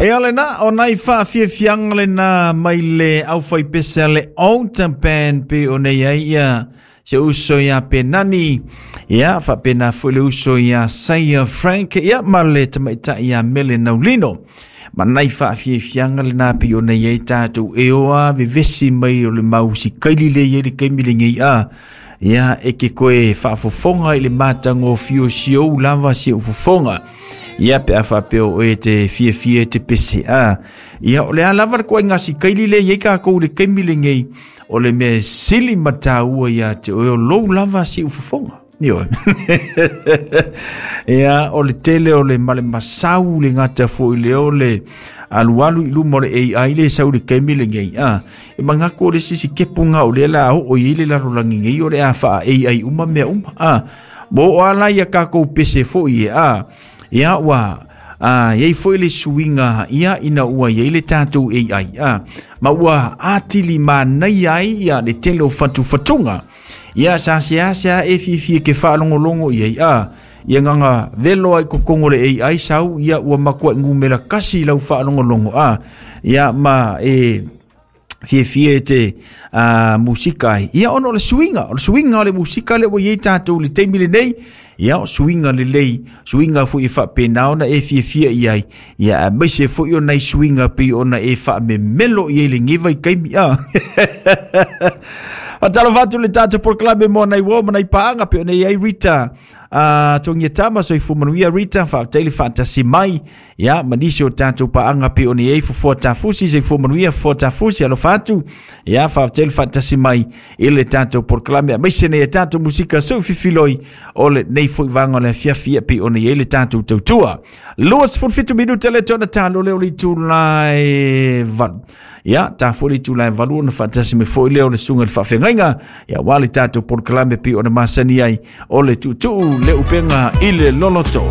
Ia lena, o nai faafiafiaga lena mai le aufaipese a le Altar Band pe o nei ai ia se uso ia Penani, ia faapena foi le uso ia Saia Frank, ia ma le tamaitai ia Mele Naulino. Ma nai faafiafiaga lena pe o nei ai tatou e oa vevesi mai o le mau sikaili le i ai le taimi lenei a. Ia e ke koe faafofoga i le matagofie o si ou lava si ou fofoga. Ia pe a faapea o oe e te fiafia e te pese a. Ia o le a lava le koaiga sikaili le i ai kākou i le taimi lenei, o le mea e sili ma tāua ia te oe o lou lava si ou fofoga. Ioe. Ia, o le tele o le ma le masau le gata foi le o le alualu i luma o le AI le sau i le taimi lenei. A, e manatu o le sisi kepunga o lea la oo i ai le lalolagi nei o le a faa AI uma mea uma. A, mo o ala ia kākou pese foi e a. Ia, ua a, iai foi le suiga ia ina ua iai le tatou AI a, ma ua atili manaia ai ia le tele o fatufatuga. Ia sa seasea e fiafia ke faalogologo i ai a, ia gaga velo ai totonu o le AI sau ia ua matuai numera kasi lau faalogologo a, ia ma e fiafia e te musika ai. Ia ona o le suiga, o le suiga o le musika lea ua i ai tatou i le taimi lenei, ia o suiga lelei, suiga foi e faapena ona e fiafia i ai, ia aemaise foi o nai suiga pei ona e faamemelo i ai lenei vaitaimi. A. Faatalofa atu i le tatou polokalame mo nai uo ma nai paaga pei ona i ai Rita Togia Tama, soifua manuia Rita, faafetai le faatasi mai. Ia, ma nisi o tatou paaga pei ona i ai Fofoa Tafusi, soifua manuia Fofoa Tafusi, alofa atu. Ia, faafetai le faatasi mai i le tatou polokalame, aemaise nei a tatou musika soififiloi o lenei foi vaega o le afiafi ia pei ona i ai le tatou tautua. 27 minute le tona talo leo le itula e 8. Ia, ta foi le itula e 8 ona faatasi mai foi lea o le susuga i le faafeagaiga, ia aua le tatou polokalame pei ona masani ai o le tuutuu le upega i le loloto.